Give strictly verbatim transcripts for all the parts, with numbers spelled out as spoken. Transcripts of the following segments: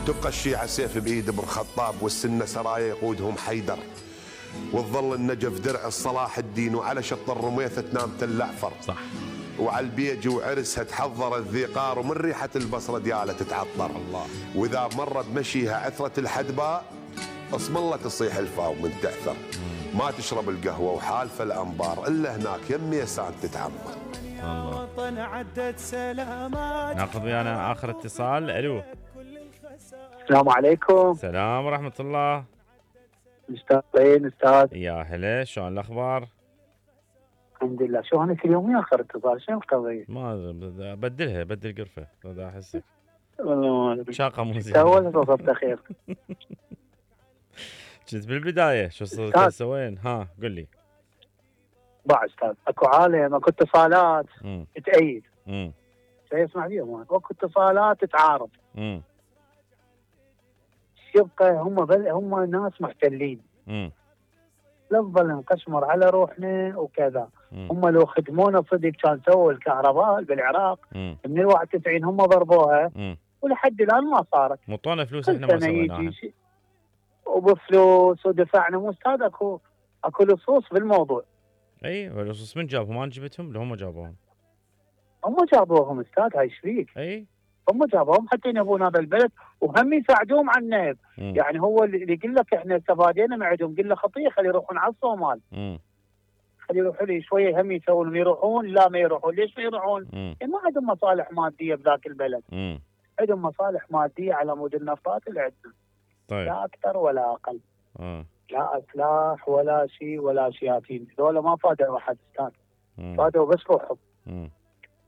تبقى الشيعة سيف بإيد ابن خطاب، والسنة سرايا يقودهم حيدر، وتظل النجف درع الصلاح الدين، وعلى شط الرميثة تنام تل أعفر. صح. وعلى البيج وعرسها تحضر الذيقار، ومن ريحة البصرة ديالة تتعطر. الله. وإذا مر بمشيها عثرة الحدباء، اسم الله تصيح الفاو من تعثر. ما تشرب القهوة وحالفة الأنبار إلا هناك يم يسان تتعمر. الله. ناخذ ويانا آخر اتصال. ألو. السلام عليكم. السلام ورحمة الله. مشتاقين استاذ. يا هلا، شلون الأخبار؟ الحمد لله. شو انا كل يوم اخر اتصال، شنو القضية؟ ما بدلها، بدل قرفة، هذا احسك والله شاقة مو زين. تو وصلت خير. كنت بالبداية شو صرت تسوين؟ ها قل لي. بعد استاذ اكو عالم، اكو اتصالات تأيد. امم شيء اسمع فيهم، اكو اتصالات تعارض. امم يبقى هم بل هم ناس محتلين. امم لا نظل نقشمر على روحنا وكذا. مم. هم لو خدمونا صدق كان سووا الكهرباء بالعراق. مم. من الواحد وتسعين هم ضربوها. مم. ولحد الان ما صارت. مطونا فلوس احنا ما سويناها. وبفلوس ودفعنا. مو استاذ اكو اكو لصوص بالموضوع. اي اللصوص من جابهم؟ ما جبتهم لو هم جابوهم. هم جابوهم استاذ، هاي ايش فيك؟ اي هم جابوهم حتى ينهبون هذا البلد، وهم يساعدوهم على النهب. يعني هو اللي يقول لك احنا تفادينا من عندهم، قل له خطيه خلي يروحون على الصومال. امم خلي يروحوا لي شويه هم يسوون يروحون. لا ما يروحون. ليش ما يروحون؟ يعني ما عندهم مصالح ماديه بذاك البلد. امم عندهم مصالح ماديه على مود النفطات اللي عندنا. طيب. لا اكثر ولا اقل. اه لا اسلاح ولا شيء ولا شياطين. هذول ما فادوا احد استاذ. فادوا بس روحهم. امم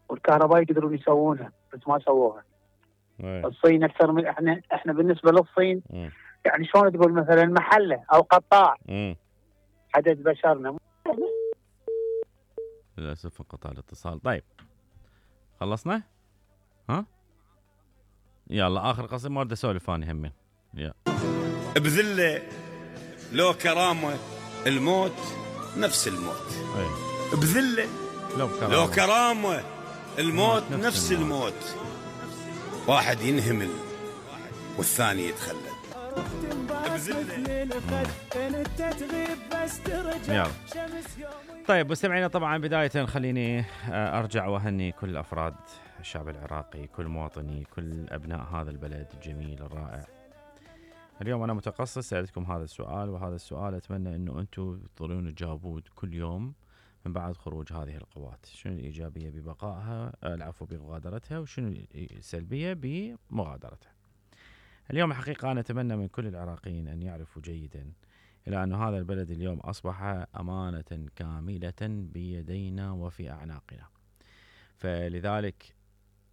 والكهرباء يقدرون يسوونها بس ما سووها. أيه. الصين اكثر من احنا. احنا بالنسبه للصين مم. يعني شلون تقول مثلا محله او قطاع. امم عدد بشرنا. للاسف انقطع الاتصال. طيب خلصنا؟ ها؟ يلا اخر قصيدة ما اريد اسولف اني همين. يلا. بذله لو كرامه الموت نفس الموت. أيه. بذله لو كرامه, لو كرامة الموت نفس, نفس الموت. الموت. واحد ينهمل والثاني يتخلد. يلا. طيب مستمعينا، طبعا بداية خليني أرجع وأهني كل أفراد الشعب العراقي، كل مواطني، كل أبناء هذا البلد الجميل الرائع. اليوم أنا متقصد سألتكم هذا السؤال، وهذا السؤال أتمنى أنه أنتم تظلون تجاوبون كل يوم من بعد خروج هذه القوات. شنو الإيجابية ببقائها، العفو بمغادرتها، وشنو السلبية بمغادرتها. اليوم الحقيقة أنا أتمنى من كل العراقيين أن يعرفوا جيدا إلى أن هذا البلد اليوم أصبح أمانة كاملة بيدينا وفي أعناقنا. فلذلك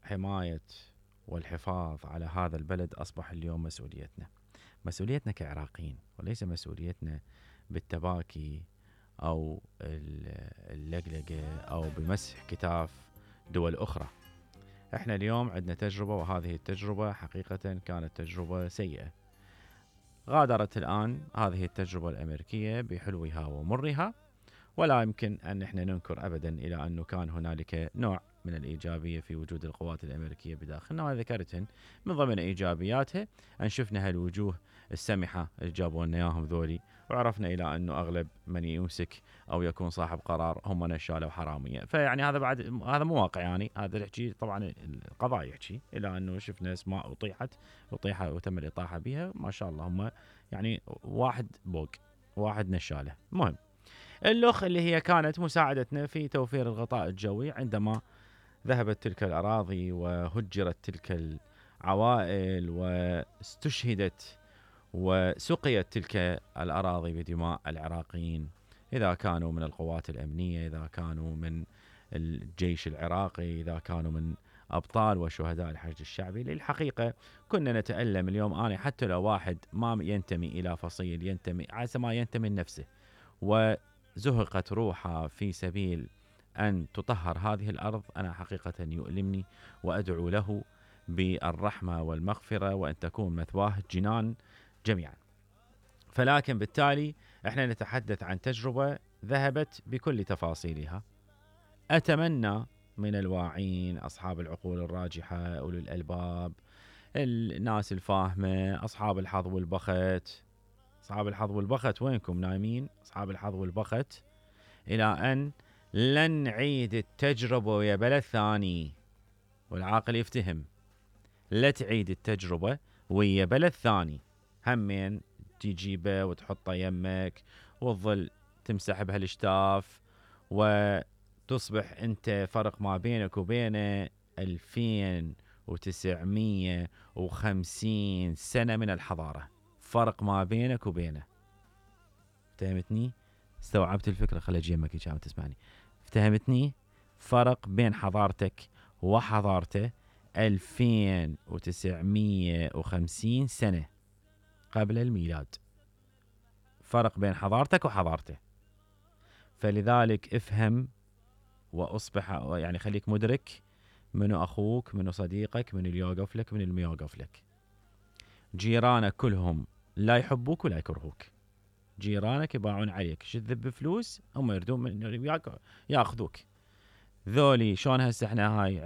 حماية والحفاظ على هذا البلد أصبح اليوم مسؤوليتنا. مسؤوليتنا كعراقيين، وليس مسؤوليتنا بالتباكي أو اللقلقة أو بمسح كتاف دول أخرى. احنا اليوم عندنا تجربة، وهذه التجربة حقيقة كانت تجربة سيئة. غادرت الآن هذه التجربة الأمريكية بحلوها ومرها، ولا يمكن أن احنا ننكر أبدا إلى أنه كان هنالك نوع من الإيجابية في وجود القوات الأمريكية بداخلنا، وأنا ذكرتهن من ضمن إيجابياتها أن شفنا هالوجوه السمحة اللي جابوا لنا إياهم ذولي، وعرفنا إلى أنه أغلب من يمسك أو يكون صاحب قرار هم نشالة وحرامية. فيعني هذا بعد هذا مو واقع، يعني هذا يحكي طبعا القضاء يحكي إلى أنه شفنا أسماء أطيحت أطيحت وتم الإطاحة بها، ما شاء الله هم يعني واحد بوق واحد نشالة. المهم اللخ اللي هي كانت مساعدتنا في توفير الغطاء الجوي عندما ذهبت تلك الأراضي وهجرت تلك العوائل واستشهدت وسقيت تلك الأراضي بدماء العراقيين، إذا كانوا من القوات الأمنية، إذا كانوا من الجيش العراقي، إذا كانوا من أبطال وشهداء الحشد الشعبي. للحقيقة كنا نتألم اليوم. أنا حتى لو واحد ما ينتمي إلى فصيل، ينتمي عسى ما ينتمي لنفسه، وزهقت روحه في سبيل أن تطهر هذه الأرض، أنا حقيقة يؤلمني، وأدعو له بالرحمة والمغفرة وأن تكون مثواه جنان جميعا. فلكن بالتالي احنا نتحدث عن تجربة ذهبت بكل تفاصيلها. أتمنى من الواعين، أصحاب العقول الراجحة، أولي الألباب، الناس الفاهمة، أصحاب الحظ والبخت. أصحاب الحظ والبخت وينكم نايمين؟ أصحاب الحظ والبخت إلى أن لن نعيد التجربة ويا بلد ثاني. والعاقل يفتهم، لا تعيد التجربة ويا بلد ثاني. همين تجيبه وتحطه يمك وتظل تمسح بهالشتاف، وتصبح انت فرق ما بينك وبينه ألفين وتسعمية وخمسين سنة من الحضارة. فرق ما بينك وبينه. افتهمتني؟ استوعبت الفكرة؟ خلي اجي يمك كي تسمعني. افتهمتني؟ فرق بين حضارتك وحضارته ألفين وتسعمية وخمسين سنة قبل الميلاد. فرق بين حضارتك وحضارته. فلذلك افهم واصبح، يعني خليك مدرك منو اخوك، منو صديقك، منو اللي يوقف لك، منو اللي ما يوقف لك. جيرانك كلهم لا يحبوك ولا يكرهوك. جيرانك يباعون عليك، شذب فلوس هم يردون من ياخذوك. ذولي شلون هسه احنا هاي